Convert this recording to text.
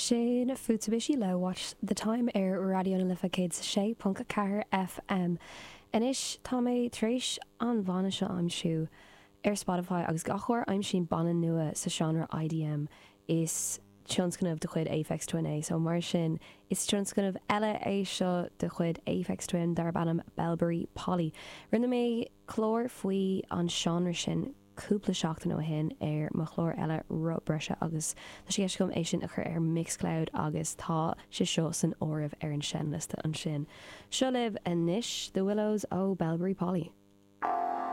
Sin Futsubishi le Watch the Time ar Raidió na Life 106.4 FM. Anois, tá mé tar éis an bhanna seo a aimsiú ar Spotify agus gach uair a aimsím banna nua sa seánra IDM is tionscnamh de chuid Aphex Twin é. So mar sin, is tionscnamh eile é seo de chuid Aphex Twin darb ainm Belbury Poly. Rinne mé clár faoi an seánra sin cúpla seachtain ó shin ar mo chlár eile Roth Breise agus tá sé i gceist agam é sin a chur ar Mixcloud agus tá sé seo san áireamh ar an seinnliosta ansin. Seo libh anois The Willows ó Belbury Poly.